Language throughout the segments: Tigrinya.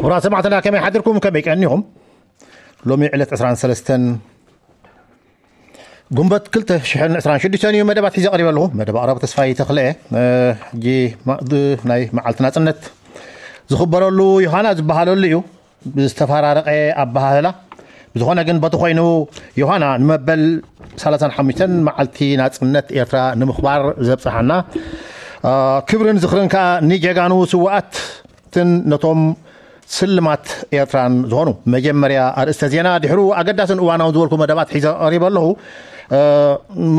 ክቡራት ሰማዕትና፣ ከመይ ሓድርኩም? ከመይ ቀኒኹም? ሎሚ ዕለት ዕስራን ሰለስተን ጉንበት ክልተ ሽሕን ዕስራን ሽዱሽተን እዩ። መደባት ሒዘ ቀሪበ ኣለኹ። መደብ ኣቕራቢ ተስፋይ ተኽለ። ሕጂ ማእዲ ናይ መዓልቲ ናጽነት ዝኽበረሉ ዮሃና ዝበሃለሉ እዩ፣ ብዝተፈራረቐ ኣበሃህላ። ብዝኾነ ግን፣ በቲ ኮይኑ፣ ዮሃና ንመበል ሰላሳን ሓሙሽተን መዓልቲ ናጽነት ኤርትራ ንምኽባር ዘብጽሓና፣ ክብርን ዝኽርን ከኣ ንጀጋኑ ስውኣትን ነቶም ስልማት ኤርትራን ዝኾኑ። መጀመርያ ኣርእስተ ዜና፣ ድሕሩ ኣገዳስን እዋናውን ዝበልኩ መደባት ሒዘ ቀሪበ ኣለኹ።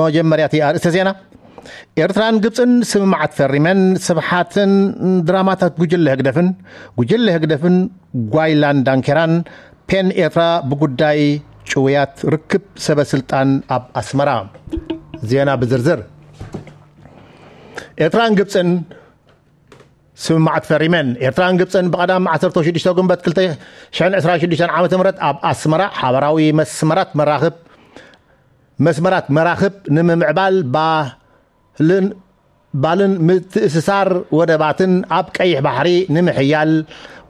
መጀመርያ እቲ ኣርእስተ ዜና፣ ኤርትራን ግብጽን ስምምዓት ፈሪመን። ስብሓትን ድራማታት ጉጅለ ህግደፍን፣ ጉጅለ ህግደፍን ጓይላን ዳንኬራን፣ ፔን ኤርትራ ብጉዳይ ጭውያት ርክብ ሰበ ስልጣን ኣብ ኣስመራ። ዜና ብዝርዝር። ኤርትራን ግብጽን ስምምዓት ፈሪመን። ኤርትራን ግብጽን ብቐዳም ዓሰርተ ሽዱሽተ ጉንበት ክልተ ሽሕን ዕስራን ሽዱሽተን ዓመተ ምህረት ኣብ ኣስመራ ሓበራዊ መስመራት መራኽብ መስመራት መራኽብ ንምምዕባል፣ ባልን ባልን ምትእስሳር ወደባትን ኣብ ቀይሕ ባሕሪ ንምሕያል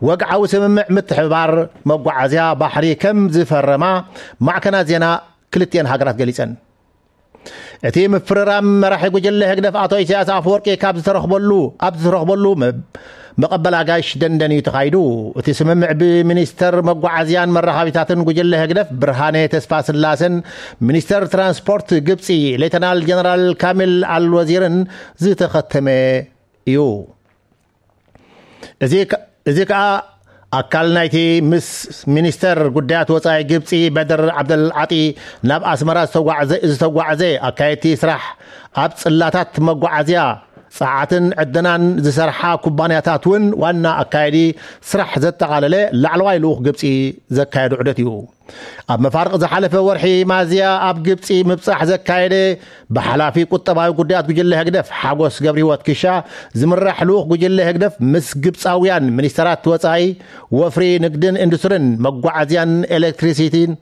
ወግዓዊ ስምምዕ ምትሕብባር መጓዓዝያ ባሕሪ ከም ዝፈረማ ማዕከናት ዜና ክልቲኤን ሃገራት ገሊጸን። እቲ ምፍርራም መራሒ ጉጅለ ህግደፍ ኣቶ ኢሳያስ ኣፈወርቂ ካብ ዝተረኽበሉ ኣብ ዝተረኽበሉ መ- መቐበል ኣጋይሽ ደንደን እዩ ተኻይዱ። እቲ ስምምዕ ብሚኒስተር መጓዓዝያን መራኻቢታትን ጉጅለ ህግደፍ ብርሃነ ተስፋ ስላሰን ሚኒስተር ትራንስፖርት ግብጺ ሌተናል ጀነራል ካሚል ኣልወዚርን ዝተኸተመ እዩ። እዚ ከ- እዚ ከኣ ኣካል ናይቲ ምስ ሚኒስተር ጉዳያት ወጻኢ ግብጺ በድር ዓብደል ዓጢ ናብ ኣስመራ ዝተጓዕዘ ዝተጓዕዘ ኣካየድቲ ስራሕ ኣብ ጽላታት መጓዓዝያ ጸዓትን ዕደናን ዝሰርሓ ኩባንያታት እውን ዋና ኣካየዲ ስራሕ ዘጠቓለለ ላዕለዋይ ልኡኽ ግብጺ ዘካየዶ ዑደት እዩ። ኣብ መፋርቕ ዝሓለፈ ወርሒ ማዝያ ኣብ ግብጺ ምብጻሕ ዘካየደ ብሓላፊ ቁጠባዊ ጉዳያት ጉጅለ ህግደፍ ሓጎስ ገብረህይወት ክሻ ዝምራሕ ልኡኽ ጉጅለ ህግደፍ ምስ ግብጻውያን ሚኒስተራት ወጻኢ፣ ወፍሪ፣ ንግድን ኢንዱስትሪን፣ መጓዓዝያን ኤሌክትሪሲቲን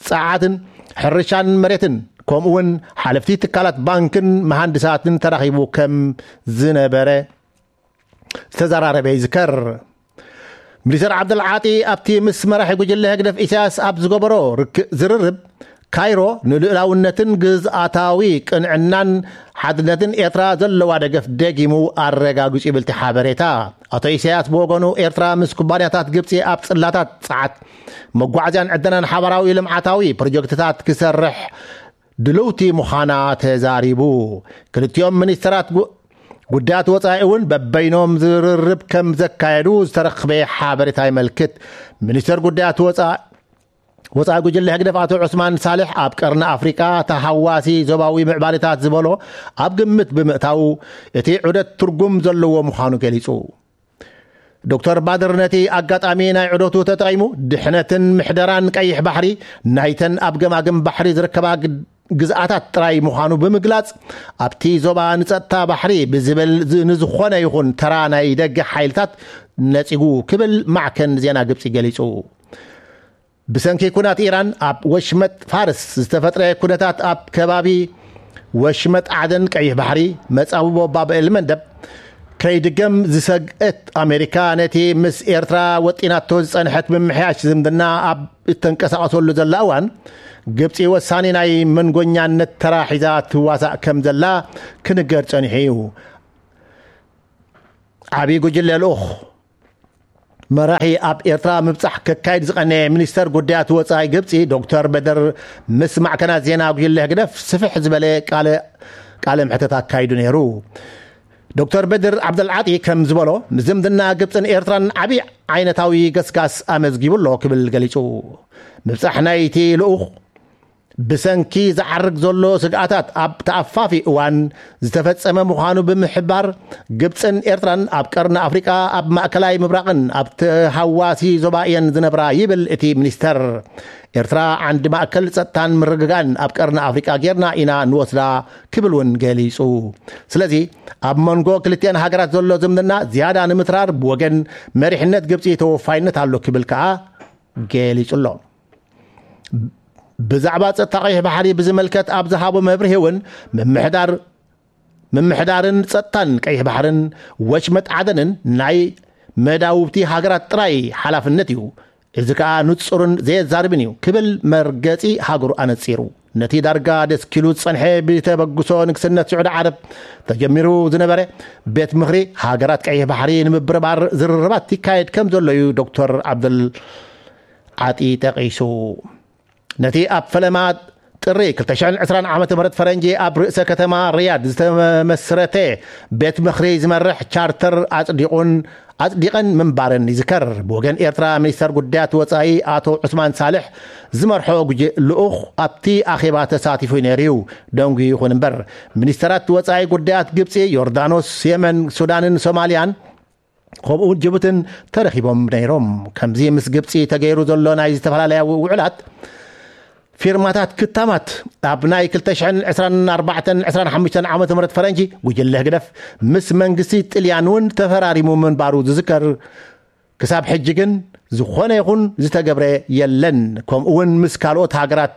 ጸዓትን፣ ሕርሻን መሬትን፣ ከምኡውን ሓለፍቲ ትካላት ባንክን መሃንድሳትን ተራኺቡ ከም ዝነበረ ዝተዘራረበ ይዝከር። ሚኒስተር ዓብደልዓጢ ኣብቲ ምስ መራሒ ጉጅለ ህግደፍ ኢሳያስ ኣብ ዝገበሮ ርክ- ዝርርብ፣ ካይሮ ንልኡላውነትን ግዝኣታዊ ቅንዕናን ሓድነትን ኤርትራ ዘለዋ ደገፍ ደጊሙ ኣረጋጊጹ ይብል እቲ ሓበሬታ። ኣቶ ኢሳያስ ብወገኑ፣ ኤርትራ ምስ ኩባንያታት ግብጺ ኣብ ጽላታት ጸዓት፣ መጓዓዝያን ዕደናን ሓባራዊ ልምዓታዊ ፕሮጀክትታት ክሰርሕ ድልውቲ ምዃና ተዛሪቡ። ክልቲኦም ሚኒስተራት ጉ- ጉዳያት ወጻኢ እውን በበይኖም ዝርርብ ከም ዘካየዱ ዝተረኽበ ሓበሬታ ይመልክት። ሚኒስተር ጉዳያት ወጻኢ ወጻኢ ጉጅለ ህግደፍ ኣቶ ዑስማን ሳልሕ ኣብ ቀርኒ ኣፍሪቃ ተሃዋሲ ዞባዊ ምዕባለታት ዝበሎ ኣብ ግምት ብምእታው እቲ ዑደት ትርጉም ዘለዎ ምዃኑ ገሊጹ። ዶክተር ባድር ነቲ ኣጋጣሚ ናይ ዑደቱ ተጠቒሙ ድሕነትን ምሕደራን ቀይሕ ባሕሪ ናይተን ኣብ ገማግም ባሕሪ ዝርከባ ግ- ግዝኣታት ጥራይ ምዃኑ ብምግላጽ ኣብቲ ዞባ ንጸጥታ ባሕሪ ብዝብል ዝ- ንዝኾነ ይኹን ተራ ናይ ደገ ሓይልታት ነጺጉ ክብል ማዕከን ዜና ግብጺ ገሊጹ። ብሰንኪ ኩናት ኢራን ኣብ ወሽመጥ ፋርስ ዝተፈጥረ ኩነታት ኣብ ከባቢ ወሽመጥ ዓደን ቀይሕ ባሕሪ መጻብቦ ባብኤል መንደብ ከይድገም ዝሰግአት ኣሜሪካ ነቲ ምስ ኤርትራ ወጢናቶ ዝጸንሐት ምምሕያሽ ዝምድና ኣብ እተንቀሳቐሰሉ ዘላ እዋን ግብጺ ወሳኒ ናይ መንጎኛነት ተራ ሒዛ ትዋሳእ ከም ዘላ ክንገር ጸኒሑ እዩ። ዓብዪ ጉጅለ ልኡኽ መራሒ ኣብ ኤርትራ ምብጻሕ ከካይድ ዝቐነየ ሚኒስተር ጉዳያት ወጻኢ ግብጺ ዶክተር በደር ምስ ማዕከናት ዜና ጉጅለ ህግደፍ ስፍሕ ዝበለ ቃለ ቃለ ምሕተት ኣካይዱ ነይሩ። ዶክተር በድር ዓብደልዓጢ ከም ዝበሎ፣ ንዝምድና ግብጽን ኤርትራን ዓቢ ዓይነታዊ ገስጋስ ኣመዝጊቡ ኣሎ ክብል ገሊጹ። ምብጻሕ ናይቲ ልኡኽ ብሰንኪ ዝዓርግ ዘሎ ስግኣታት ኣብ ተኣፋፊ እዋን ዝተፈጸመ ምዃኑ ብምሕባር፣ ግብጽን ኤርትራን ኣብ ቀርኒ ኣፍሪቃ፣ ኣብ ማእከላይ ምብራቕን ኣብ ተሃዋሲ ዞባ እየን ዝነብራ ይብል እቲ ሚኒስተር። ኤርትራ ዓንዲ ማእከል ጸጥታን ምርግጋእን ኣብ ቀርኒ ኣፍሪቃ ጌርና ኢና ንወስዳ ክብል እውን ገሊጹ። ስለዚ ኣብ መንጎ ክልቲኣን ሃገራት ዘሎ ዝምድና ዝያዳ ንምትራር ብወገን መሪሕነት ግብጺ ተወፋይነት ኣሎ ክብል ከኣ ገሊጹ ኣሎ። ብዛዕባ ጸጥታ ቀይሕ ባሕሪ ብዝምልከት ኣብ ዝሃቦ መብርሂ እውን ምምሕዳር ምምሕዳርን ጸጥታን ቀይሕ ባሕርን ወሽመጥ ዓደንን ናይ መዳውብቲ ሃገራት ጥራይ ሓላፍነት እዩ። እዚ ከኣ ንጹርን ዘየዛርብን እዩ ክብል መርገጺ ሃገሩ ኣነጺሩ። ነቲ ዳርጋ ደስኪሉ ዝጸንሐ ብተበግሶ ንግስነት ስዑዲ ዓረብ ተጀሚሩ ዝነበረ ቤት ምኽሪ ሃገራት ቀይሕ ባሕሪ ንምብርባር ዝርርባት ይካየድ ከም ዘሎ እዩ ዶክተር ዓብደል ዓጢ ጠቒሱ። ነቲ ኣብ ፈለማ ጥሪ ክልተ ሽሕን ዕስራን ዓመተ ምህረት ፈረንጂ ኣብ ርእሰ ከተማ ሪያድ ዝተመስረተ ቤት ምኽሪ ዝመርሕ ቻርተር ኣጽዲቑን ኣጽዲቐን ምንባረን ይዝከር። ብወገን ኤርትራ ሚኒስተር ጉዳያት ወጻኢ ኣቶ ዑስማን ሳልሕ ዝመርሖ ጉጅ ልኡኽ ኣብቲ ኣኼባ ተሳቲፉ ነይሩ እዩ። ደንጉዩ ይኹን እምበር ሚኒስተራት ወጻኢ ጉዳያት ግብጺ፣ ዮርዳኖስ፣ የመን፣ ሱዳንን ሶማልያን ከምኡ እውን ጅቡትን ተረኺቦም ነይሮም። ከምዚ ምስ ግብጺ ተገይሩ ዘሎ ናይ ዝተፈላለያ ውዕላት ፊርማታት ክታማት ኣብ ናይ ክልተ ሽሕን ዕስራን ኣርባዕተን ዕስራን ሓሙሽተን ዓመተ ምህረት ፈረንጂ ጉጅለ ህግደፍ ምስ መንግስቲ ጥልያን እውን ተፈራሪሙ ምንባሩ ዝዝከር። ክሳብ ሕጂ ግን ዝኾነ ይኹን ዝተገብረ የለን። ከምኡ እውን ምስ ካልኦት ሃገራት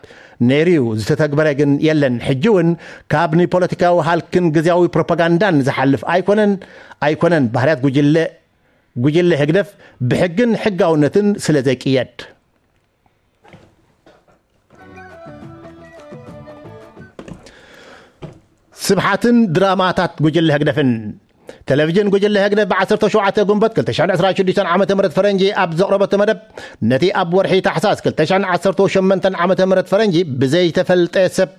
ነይሩ እዩ፣ ዝተተግበረ ግን የለን። ሕጂ እውን ካብ ንፖለቲካዊ ሃልክን ግዝያዊ ፕሮፓጋንዳን ዝሓልፍ ኣይኮነን ኣይኮነን። ባህርያት ጉጅለ ጉጅለ ህግደፍ ብሕግን ሕጋውነትን ስለ ዘይቅየድ። ስብሓትን ድራማታት ጉጅለ ህግደፍን። ቴሌቪዥን ጉጅለ ህግደፍ ብ ዓሰርተ ሸውዓተ ጉንበት ክልተ ሽሕን ዕስራን ሽዱሽተን ዓመተ ምህረት ፈረንጂ ኣብ ዘቕረበቶ መደብ፣ ነቲ ኣብ ወርሒ ታሕሳስ ክልተ ሽሕን ዓሰርተ ሸሞንተን ዓመተ ምህረት ፈረንጂ ብዘይተፈልጠ ሰብ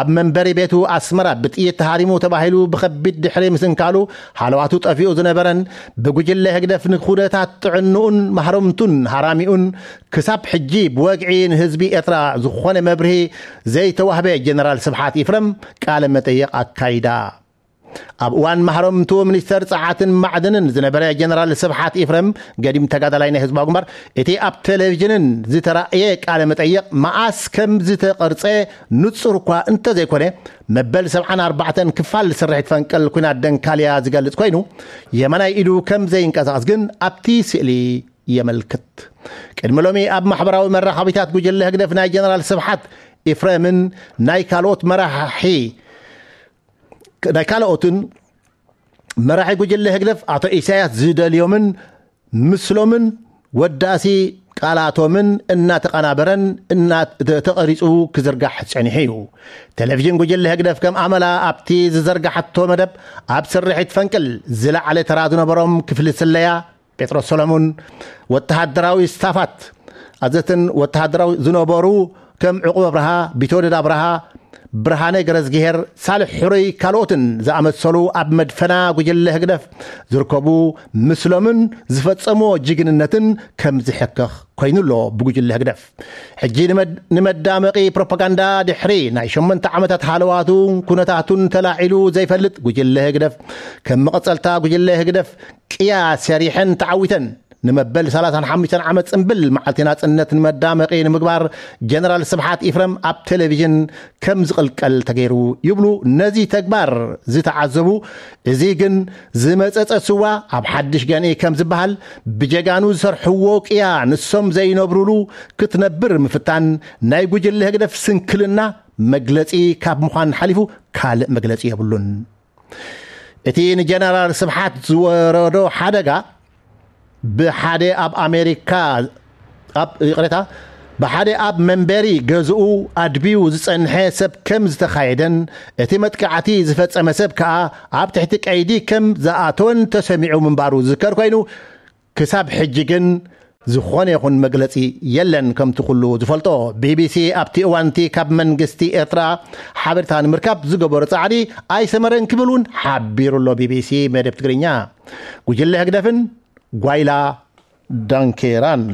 ኣብ መንበሪ ቤቱ ኣስመራ ብጥይት ተሃሪሙ ተባሂሉ ብኸቢድ ድሕሪ ምስንካሉ ሃለዋቱ ጠፊኡ ዝነበረን ብጉጅለ ህግደፍ ንኩነታት ጥዕንኡን ማህረምቱን ሃራሚኡን ክሳብ ሕጂ ብወግዒ ንህዝቢ ኤርትራ ዝኾነ መብርሂ ዘይተዋህበ ጀነራል ስብሓት ኢፍረም ቃለ መጠይቕ ኣካይዳ። ኣብ እዋን ማህረምቱ ሚኒስተር ጸዓትን ማዕድንን ዝነበረ ጀነራል ስብሓት ኢፍረም፣ ገዲም ተጋዳላይ ናይ ህዝባዊ ግንባር፣ እቲ ኣብ ቴሌቪዥንን ዝተራእየ ቃለ መጠይቕ መኣስ ከም ዝተቐርጸ ንጹር እኳ እንተዘይኮነ፣ መበል ሰብዓን ኣርባዕተን ክፋል ስርሒት ፈንቅል ኲናት ደንካልያ ዝገልጽ ኮይኑ፣ የማናይ ኢዱ ከም ዘይንቀሳቐስ ግን ኣብቲ ስእሊ የመልክት። ቅድሚ ሎሚ ኣብ ማሕበራዊ መራኸቢታት ጉጅለ ህግደፍ ናይ ጀነራል ስብሓት ኢፍረምን ናይ ካልኦት መራሒ ናይ ካልኦትን መራሒ ጉጅለ ህግደፍ ኣቶ ኢሳያስ ዝደልዮምን ምስሎምን ወዳሲ ቃላቶምን እናተቐናበረን እና-፣ ተ-፣ ተቐሪጹ ክዝርጋሕ ጸኒሑ እዩ። ቴሌቪዥን ጉጅለ ህግደፍ ከም ኣመላ ኣብቲ ዝዘርጋሓቶ መደብ ኣብ ስርሒት ፈንቅል ዝለዓለ ተራ ዝነበሮም ክፍሊ ስለያ ጴጥሮስ ሰሎሙን፣ ወተሃደራዊ ስታፋት ኣዘትን ወተሃደራዊ ዝነበሩ ከም ዕቁብ ኣብርሃ፣ ቢትወደድ ኣብርሃ፣ ብርሃነ ገረዝግሄር፣ ሳልሕ ሕሩይ ካልኦትን ዝኣመሰሉ ኣብ መድፈና ጉጅለ ህግደፍ ዝርከቡ ምስሎምን ዝፈጸምዎ ጅግንነትን ከም ዝሕከኽ ኮይኑ ኣሎ ብጉጅለ ህግደፍ። ሕጂ ንመድ-፣ ንመዳመቒ ፕሮፓጋንዳ ድሕሪ ናይ ሸሞንተ ዓመታት ሃለዋቱ ኩነታቱን ተላዒሉ ዘይፈልጥ ጉጅለ ህግደፍ ከም መቐጸልታ ጉጅለ ህግደፍ ቅያ ሰሪሐን ተዓዊተን ንመበል ሰላሳን ሓሙሽተን ዓመት ጽምብል መዓልቲ ናጽነት ንመዳመቒ ንምግባር ጀነራል ስብሓት ኢፍረም ኣብ ቴሌቪዥን ከም ዝቕልቀል ተገይሩ ይብሉ ነዚ ተግባር ዝተዓዘቡ። እዚ ግን ዝመጸጸ ስዋ ኣብ ሓድሽ ገንኢ ከም ዝበሃል ብጀጋኑ ዝሰርሕዎ ቅያ ንሶም ዘይነብሩሉ ክትነብር ምፍታን ናይ ጉጅለ ህግደፍ ስንክልና መግለጺ ካብ ምዃን ሓሊፉ ካልእ መግለጺ የብሉን። እቲ ንጀነራል ስብሓት ዝወረዶ ሓደጋ ብሓደ ኣብ ኣሜሪካ ኣብ ይቕሬታ ብሓደ ኣብ መንበሪ ገዝኡ ኣድብዩ ዝጸንሐ ሰብ ከም ዝተኻየደን እቲ መጥቃዕቲ ዝፈጸመ ሰብ ከኣ ኣብ ትሕቲ ቀይዲ ከም ዝኣተወን ተሰሚዑ ምንባሩ ዝዝከር ኮይኑ ክሳብ ሕጂ ግን ዝኾነ ይኹን መግለጺ የለን። ከምቲ ኩሉ ዝፈልጦ ቢቢሲ ኣብቲ እዋንቲ ካብ መንግስቲ ኤርትራ ሓበሬታ ንምርካብ ዝገበሮ ጻዕሪ ኣይሰመረን ክብል እውን ሓቢሩ ኣሎ ቢቢሲ መደብ ትግርኛ። ጉጅለ ህግደፍን ጓይላ ዳንኬራን።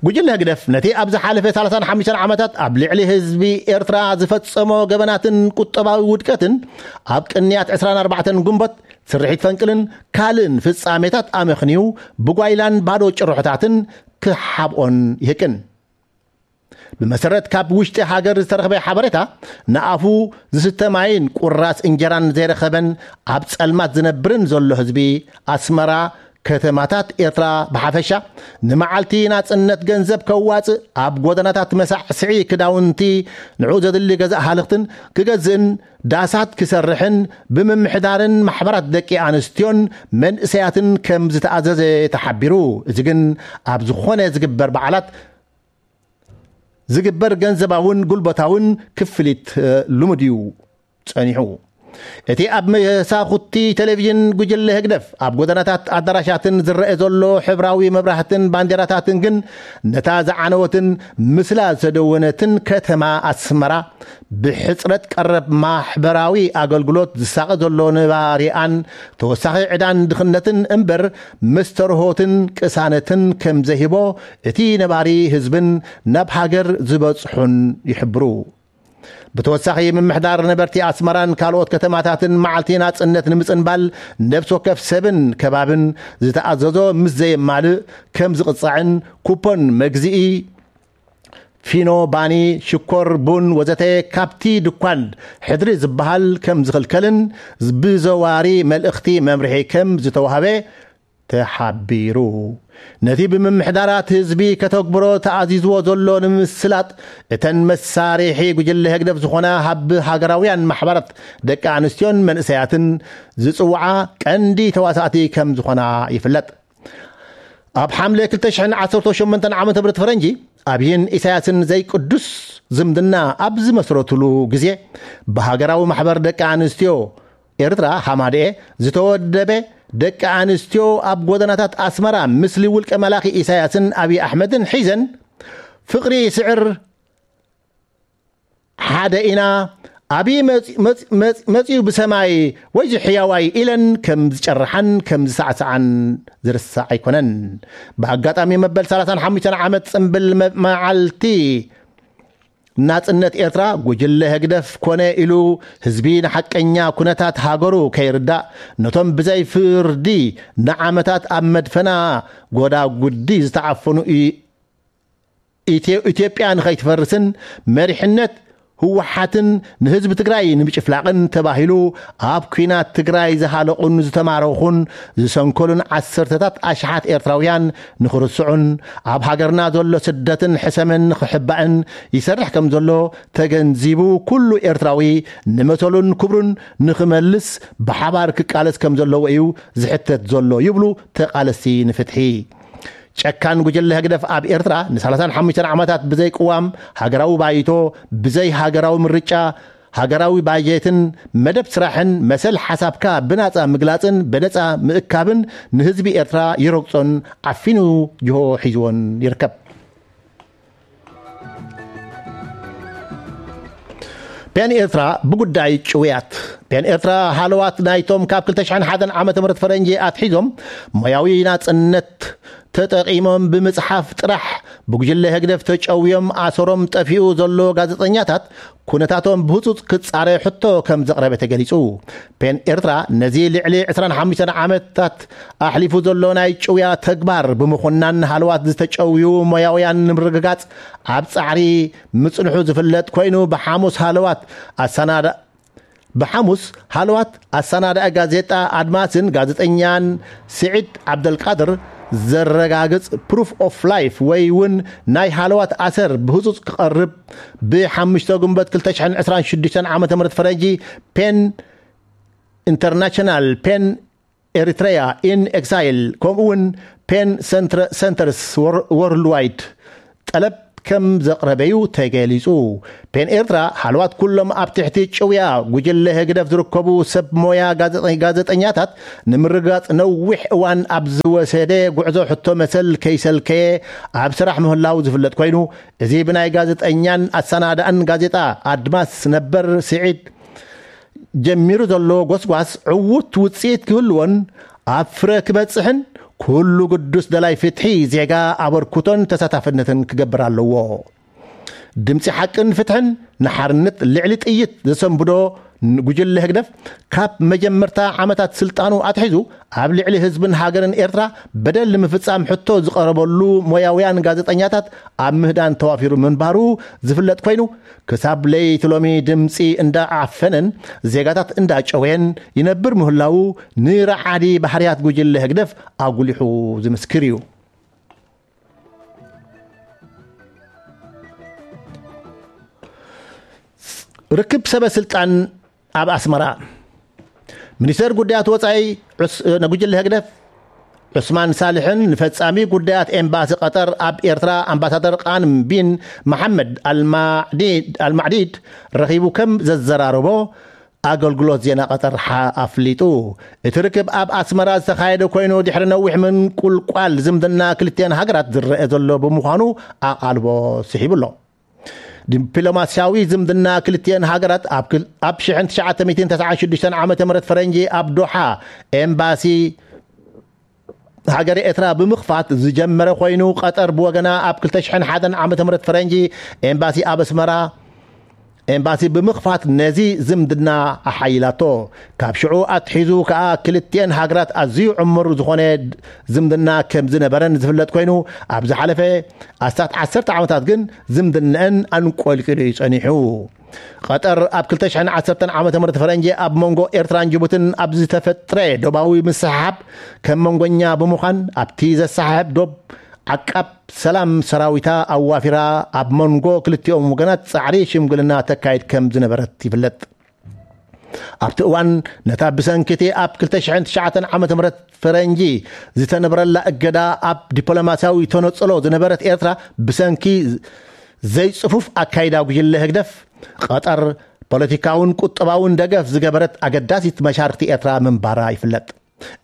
ጉጅለ ህግደፍ ነቲ ኣብ ዝሓለፈ ሰላሳን ሓሙሽተን ዓመታት ኣብ ልዕሊ ህዝቢ ኤርትራ ዝፈጸሞ ገበናትን ቁጠባዊ ውድቀትን ኣብ ቅንያት ዕስራን ኣርባዕተን ጉንበት ስርሒት ፈንቅልን ካልእን ፍጻሜታት ኣመኽንዩ ብጓይላን ባዶ ጭርሖታትን ክሓብኦን ይህቅን። ብመሰረት ካብ ውሽጢ ሃገር ዝተረኽበ ሓበሬታ ንኣፉ ዝስተ ማይን ቁራስ እንጀራን ዘይረኸበን ኣብ ጸልማት ዝነብርን ዘሎ ህዝቢ ኣስመራ ከተማታት ኤርትራ ብሓፈሻ ንመዓልቲ ናጽነት ገንዘብ ከዋጽእ፣ ኣብ ጎደናታት መሳዕስዒ ክዳውንቲ፣ ንዑ ዘድሊ ገዛእ ሃልኽትን ክገዝእን፣ ዳሳት ክሰርሕን ብምምሕዳርን ማሕበራት ደቂ ኣንስትዮን መንእሰያትን ከም ዝተኣዘዘ ተሓቢሩ። እዚ ግን ኣብ ዝኾነ ዝግበር በዓላት ዝግበር ገንዘባውን ጉልበታውን ክፍሊት ልሙድ እዩ ጸኒሑ። እቲ ኣብ መሳኹቲ ቴሌቪዥን ጉጅለ ህግደፍ ኣብ ጎደናታት ኣዳራሻትን ዝረአ ዘሎ ሕብራዊ መብራህትን ባንዴራታትን ግን ነታ ዝዓነወትን ምስላ ዝተደወነትን ከተማ ኣስመራ ብሕጽረት ቀረብ ማሕበራዊ ኣገልግሎት ዝሳቐ ዘሎ ነባሪኣን ተወሳኺ ዕዳን ድኽነትን እምበር መስተርሆትን ቅሳነትን ከም ዘይህቦ እቲ ነባሪ ህዝብን ናብ ሃገር ዝበጽሑን ይሕብሩ። ብተወሳኺ ምምሕዳር ነበርቲ ኣስመራን ካልኦት ከተማታትን መዓልቲ ናጽነት ንምጽንባል ነብሲ ወከፍ ሰብን ከባብን ዝተኣዘዞ ምስ ዘየማልእ ከም ዝቕጻዕን ኩፖን መግዝኢ ፊኖ፣ ባኒ፣ ሽኮር፣ ቡን ወዘተ ካብቲ ድኳን ሕድሪ ዝበሃል ከም ዝኽልከልን ብዘዋሪ መልእኽቲ መምርሒ ከም ዝተዋህበ ተሓቢሩ። ነቲ ብምምሕዳራት ህዝቢ ከተግብሮ ተኣዚዝዎ ዘሎ ንምስላጥ እተን መሳርሒ ጉጅለ ህግደፍ ዝኾና ሃብ ሃገራውያን ማሕበራት ደቂ ኣንስትዮን መንእሰያትን ዝጽውዓ ቀንዲ ተዋሳእቲ ከም ዝኾና ይፍለጥ። ኣብ ሓምለ ክልተ ሽሕን ዓሰርተ ሸሞንተን ዓመተ ምህረት ፈረንጂ ኣብይን ኢሳያስን ዘይቅዱስ ዝምድና ኣብ ዝመስረትሉ ግዜ ብሃገራዊ ማሕበር ደቂ ኣንስትዮ ኤርትራ ሃማደኤ ዝተወደበ ደቂ ኣንስትዮ ኣብ ጎደናታት ኣስመራ ምስሊ ውልቀ መላኺ ኢሳያስን ኣብይ ኣሕመድን ሒዘን ፍቕሪ ይስዕር ሓደ ኢና ኣብይ መጽ- መጽ- መጽ- መጽዩ ብሰማይ ወይዚ ሕያዋይ ኢለን ከም ዝጨርሓን ከም ዝሳዕስዓን ዝርሳዕ ኣይኮነን። ብኣጋጣሚ መበል ሰላሳን ሓሙሽተን ዓመት ጽምብል መ- መዓልቲ ናጽነት ኤርትራ ጉጅለ ህግደፍ ኮነ ኢሉ ህዝቢ ንሓቀኛ ኩነታት ሃገሩ ከይርዳእ ነቶም ብዘይ ፍርዲ ንዓመታት ኣብ መድፈና ጎዳጉዲ ዝተዓፈኑ ኢ- ኢትዮ- ኢትዮጵያ ንኸይትፈርስን መሪሕነት ህወሓትን ንህዝቢ ትግራይ ንምጭፍላቕን ተባሂሉ ኣብ ኲናት ትግራይ ዝሃለቑን ዝተማረኹን ዝሰንከሉን ዓሰርተታት ኣሽሓት ኤርትራውያን ንኽርስዑን ኣብ ሃገርና ዘሎ ስደትን ሕሰምን ንኽሕባእን ይሰርሕ ከም ዘሎ ተገንዚቡ ኩሉ ኤርትራዊ ንመሰሉን ክብሩን ንኽመልስ ብሓባር ክቃለስ ከም ዘለዎ እዩ ዝሕተት ዘሎ ይብሉ ተቓለስቲ ንፍትሒ። ጨካን ጉጅለ ህግደፍ ኣብ ኤርትራ ን35 ዓመታት ብዘይ ቅዋም ሃገራዊ ባይቶ፣ ብዘይ ሃገራዊ ምርጫ፣ ሃገራዊ ባጀትን መደብ ስራሕን መሰል ሓሳብካ ብናጻ ምግላጽን ብነጻ ምእካብን ንህዝቢ ኤርትራ ይረግጾን ዓፊኑ ጅሆ ሒዝዎን ይርከብ። ፔን ኤርትራ ብጉዳይ ጭውያት። ፔን ኤርትራ ሃለዋት ናይቶም ካብ ክልተ ሽሕን ሓደን ዓመተ ምህረት ፈረንጂ ኣትሒዞም ሞያዊ ናጽነት ተጠቒሞም ብምጽሓፍ ጥራሕ ብጉጅለ ህግደፍ ተጨውዮም ኣሰሮም ጠፊኡ ዘሎ ጋዜጠኛታት ኩነታቶም ብህጹጽ ክጻረ ሕቶ ከም ዘቕረበ ተገሊጹ። ፔን ኤርትራ ነዚ ልዕሊ ዕስራን ሓሙሽተን ዓመታት ኣሕሊፉ ዘሎ ናይ ጭውያ ተግባር ብምኹናን ሃለዋት ዝተጨውዩ ሞያውያን ንምርግጋጽ ኣብ ጻዕሪ ምጽንሑ ዝፍለጥ ኮይኑ ብሓሙስ ሃለዋት ኣሰናዳ ብሓሙስ ሃለዋት ኣሰናዳኢ ጋዜጣ ኣድማስን ጋዜጠኛን ስዒድ ዓብደልቃድር ዘረጋግጽ ፕሩፍ ኦፍ ላይፍ ወይ እውን ናይ ሃለዋት ኣሰር ብህጹጽ ክቐርብ ብሓሙሽተ ግንቦት ክልተ ሽሕን ዕስራን ሽዱሽተን ዓመተ ምህረት ፈረንጂ ፔን ኢንተርናሽናል ፔን ኤሪትሬያ ኢን ኤግዛይል ከምኡ እውን ፔን ሰንትረ- ሰንተርስ ወር- ወርልድዋይድ ጠለብ ከም ዘቕረበዩ ተገሊጹ። ፔን ኤርትራ ሃለዋት ኩሎም ኣብ ትሕቲ ጭውያ ጉጅለ ህግደፍ ዝርከቡ ሰብ ሞያ ጋዜጠ- ጋዜጠኛታት ንምርጋጽ ነዊሕ እዋን ኣብ ዝወሰደ ጉዕዞ ሕቶ መሰል ከይሰልከየ ኣብ ስራሕ ምህላው ዝፍለጥ ኮይኑ እዚ ብናይ ጋዜጠኛን ኣሰናዳእን ጋዜጣ ኣድማስ ነበር ስዒድ ጀሚሩ ዘሎ ጎስጓስ ዕዉት ውጽኢት ክህልዎን ኣብ ፍረ ክበጽሕን ኩሉ ግዱስ ደላይ ፍትሒ ዜጋ ኣበርክቶን ተሳታፍነትን ክገብር ኣለዎ። ድምፂ ሓቅን ፍትሕን ንሓርነት ልዕሊ ጥይት ዘሰንብዶ ጉጅለ ህግደፍ፣ ካብ መጀመርታ ዓመታት ስልጣኑ ኣትሒዙ ኣብ ልዕሊ ህዝብን ሃገርን ኤርትራ በደል ንምፍጻም ሕቶ ዝቐረበሉ ሞያውያን ጋዜጠኛታት ኣብ ምህዳን ተዋፊሩ ምንባሩ ዝፍለጥ ኮይኑ፣ ክሳብ ለይቲ ሎሚ ድምፂ እንዳዓፈነን ዜጋታት እንዳጨወየን ይነብር ምህላዉ፣ ንረዓዲ ባህርያት ጉጅለ ህግደፍ ኣጉሊሑ ዝምስክር እዩ። ርክብ ሰበ ስልጣን ኣብ ኣስመራ። ሚኒስተር ጉዳያት ወጻኢ ዑስ-፣ ነጉጅለ ህግደፍ ዑስማን ሳልሕን ንፈጻሚ ጉዳያት ኤምባሲ ቀጠር ኣብ ኤርትራ ኣምባሳደር ቃንም ቢን መሓመድ ኣልማዕዲድ፣ ኣልማዕዲድ ረኺቡ ከም ዘዘራረቦ ኣገልግሎት ዜና ቀጠር ሓ-፣ ኣፍሊጡ። እቲ ርክብ ኣብ ኣስመራ ዝተኻየደ ኮይኑ፣ ድሕሪ ነዊሕ ምንቁልቋል ዝምድና ክልቲኣን ሃገራት ዝረአ ዘሎ ብምዃኑ ኣቓልቦ ስሒቡ ኣሎ። ዲፕሎማስያዊ ዝምድና ክልቲአን ሃገራት ኣብ ክል-፣ ኣብ ሽሕን ትሽዓተ ሚእትን ተስዓን ሽዱሽተን ዓመተ ምህረት ፈረንጂ ኣብ ዶሓ ኤምባሲ ሃገረ ኤርትራ ብምኽፋት ዝጀመረ ኮይኑ፣ ቀጠር ብወገና ኣብ ክልተ ሽሕን ሓደን ዓመተ ምህረት ፈረንጂ ኤምባሲ ኣብ ኣስመራ ኤምባሲ ብምኽፋት ነዚ ዝምድና ኣሓይላቶ። ካብ ሽዑ ኣትሒዙ ከኣ ክልቲአን ሃገራት ኣዝዩ ዕሙር ዝኾነ ዝምድና ከም ዝነበረን ዝፍለጥ ኮይኑ፣ ኣብ ዝሓለፈ ኣስታት ዓሰርተ ዓመታት ግን ዝምድነአን ኣንቆልቂሉ እዩ ጸኒሑ። ቀጠር ኣብ ክልተ ሽሕን ዓሰርተን ዓመተ ምህረት ፈረንጂ ኣብ መንጎ ኤርትራን ጅቡትን ኣብ ዝተፈጥረ ዶባዊ ምስሕሓብ ከም መንጎኛ ብምዃን፣ ኣብቲ ዘሰሓሕብ ዶብ ዓቃብ ሰላም ሰራዊታ ኣዋፊራ ኣብ መንጎ ክልቲኦም ወገናት ጻዕሪ ሽምግልና ተካይድ ከም ዝነበረት ይፍለጥ። ኣብቲ እዋን ነታ ብሰንኪ እቲ ኣብ ክልተ ሽሕን ትሽዓተን ዓመተ ምህረት ፈረንጂ ዝተነብረላ እገዳ ኣብ ዲፕሎማስያዊ ተነጽሎ ዝነበረት ኤርትራ፣ ብሰንኪ ዘይጽፉፍ ኣካይዳ ጉጅለ ህግደፍ፣ ቀጠር ፖለቲካውን ቁጠባውን ደገፍ ዝገበረት ኣገዳሲት መሻርክቲ ኤርትራ ምንባራ ይፍለጥ።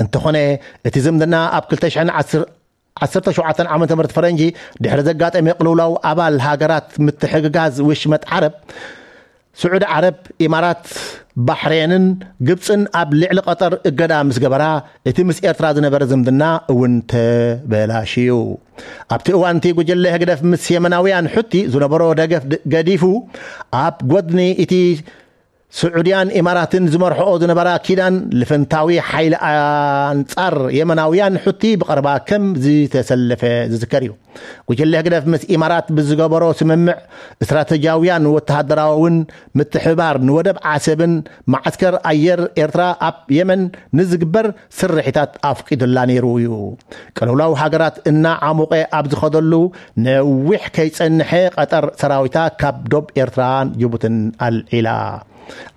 እንተኾነ፣ እቲ ዝምድና ኣብ ክልተ ሽሕን ዓሰርተ ሸውዓተን ዓመተ ምህረት ፈረንጂ ድሕሪ ዘጋጠመ ቅልውላው ኣባል ሃገራት ምትሕግጋዝ ውሽመጥ ዓረብ፣ ስዑዲ ዓረብ፣ ኢማራት፣ ባሕሬንን ግብጽን ኣብ ልዕሊ ቀጠር እገዳ ምስ ገበራ፣ እቲ ምስ ኤርትራ ዝነበረ ዝምድና እውን ተበላሽዩ። ኣብቲ እዋን እቲ ጉጅለ ህግደፍ ምስ የመናውያን ሑቲ ዝነበሮ ደገፍ ድ-፣ ገዲፉ፣ ኣብ ጎድኒ እቲ ስዑድያን ኢማራትን ዝመርሕኦ ዝነበራ ኪዳን ልፍንታዊ ሓይሊ ኣንጻር የመናውያን ሑቲ ብቐረባ ከም ዝተሰለፈ ዝዝከር እዩ። ጉጅለ ህግደፍ ምስ ኢማራት ብዝገበሮ ስምምዕ፣ ስትራተጂያውያን ወተሃደራውን ምትሕብባር ንወደብ ዓሰብን መዓስከር ኣየር ኤርትራ ኣብ የመን ንዝግበር ስርሒታት ኣፍቂዱላ ነይሩ እዩ። ቅልውላው ሃገራት እናዓሞቐ ኣብ ዝኸደሉ፣ ነዊሕ ከይጸንሐ ቀጠር ሰራዊታ ካብ ዶብ ኤርትራን ጅቡትን ኣልዒላ።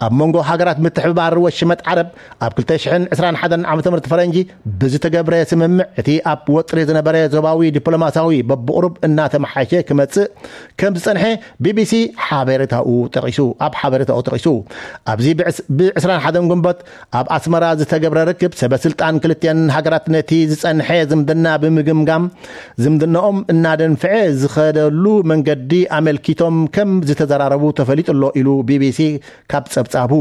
ኣብ መንጎ ሃገራት ምትሕብባር ወሽመጥ ዓረብ ኣብ ክልተ ሽሕን ዕስራን ሓደን ዓመተ ምህረት ፈረንጂ ብዝተገብረ ስምምዕ፣ እቲ ኣብ ወጥሪ ዝነበረ ዞባዊ ዲፕሎማስያዊ በብቑሩብ እናተመሓየሸ ክመጽእ ከም ዝጸንሐ ቢቢሲ ሓበሬታኡ ጠቒሱ፣ ኣብ ሓበሬታኡ ጠቒሱ። ኣብዚ ብዕስ-፣ ብዕስራን ሓደን ግንቦት ኣብ ኣስመራ ዝተገብረ ርክብ፣ ሰበ ስልጣን ክልቲአን ሃገራት ነቲ ዝጸንሐ ዝምድና ብምግምጋም፣ ዝምድናኦም እናደንፍዐ ዝኸደሉ መንገዲ ኣመልኪቶም ከም ዝተዘራረቡ ተፈሊጡ ኣሎ ኢሉ ቢቢሲ ካብ ጸብጻቡ።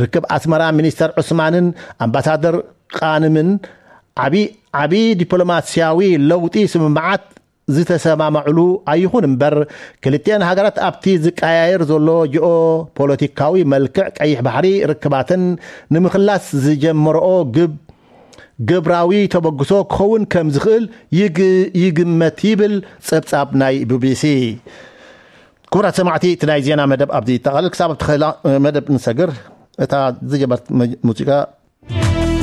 ርክብ ኣስመራ ሚኒስተር ዑስማንን ኣምባሳደር ቃንምን ዓቢ፣ ዓቢ ዲፕሎማስያዊ ለውጢ ስምምዓት ዝተሰማማዕሉ ኣይኹን እምበር፣ ክልቲአን ሃገራት ኣብቲ ዝቀያየር ዘሎ ጂኦ ፖለቲካዊ መልክዕ ቀይሕ ባሕሪ ርክባተን ንምኽላስ ዝጀመረኦ ግብ-፣ ግብራዊ ተበግሶ ክኸውን ከም ዝኽእል ይግ-፣ ይግመት ይብል ጸብጻብ ናይ ቢቢሲ። ክቡራት ሰማዕቲ፣ እቲ ናይ ዜና መደብ ኣብዚ ይጠቓልል። ክሳብ ኣብቲ ኸላ መደብ ንሰግር፣ እታ ዝጀመርት መ-፣ ሙዚቃ